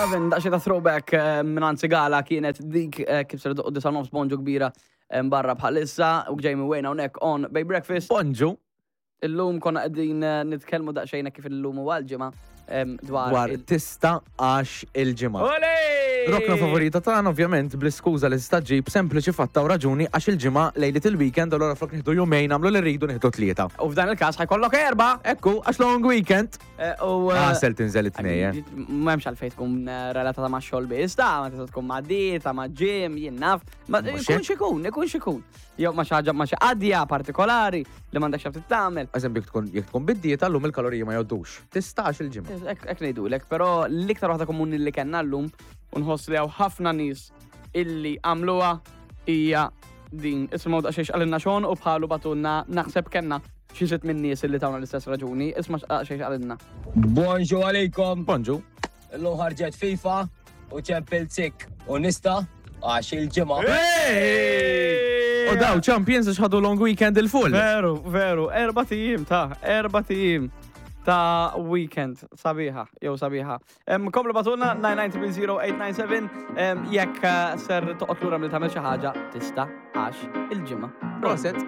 Lovin', daqsxejn ta' throwback eh, minn Sigala kienet dik eh, kif ser doqqu disa nofs bonġu kbira eh, barra bħalissa u Jamie Wayne hawnhekk on Bay Breakfast. Bonġu. Illum konna qegħdin eh, nitkellmu daqsxejn kif illum huwa l-ġimgħa dwar Dwar tista għax il-ġimgħa. Ole! Rokna favorita tagħna ovvjament bl-iskuża li tista' ġib sempliċi fatta u raġuni għax il-ġimgħa lejliet il-weekend allura flok nieħdu jumejn nagħmlu li rridu nieħdu tlieta. U f'dan il-każ ħajkollok erba'. Ekku, għax long weekend. Eh, U eh, Għasel tinżel it-tnej, eh. M'hemmx għalfejn tkun relatata ma' xogħol biss, ta' ma tista' tkun ma' dieta, ma' gym, jien naf. Ma Mhux ikun hekk. xikun, ikun xikun. Jew ma' xi ħaġa ma' xi qadja partikolari li m'għandekx x'taf tagħmel. Eżempju, jekk tkun jekk tkun bid-dieta llum il-kaloriji ma jgħoddux. Tistax il-ġimgħa. Hekk ngħidulek, però l-iktar waħda komuni li kellna llum u nħoss li hawn ħafna nies illi għamluha hija din. Isimgħu daqsxejn x'qalilna Sean u bħalu bagħtulna naħseb kellna xi sitt minn nies illi tawna l-istess raġuni. Isma' daqsxejn x'qalilna. Bonġu għalikom. Bonġu. Illum ħarġet FIFA u Champions League u nista għax il-ġimgħa. U daw champions għax ħadu long weekend il-full. Veru, veru, erba tijiem ta' erba tijiem ta' weekend sabiħa, jew sabiħa. Komplu batuna 9900897 jekk eh, ser toqgħod lura mill tagħmel xi ħaġa tista' għax il-ġimgħa. Proset.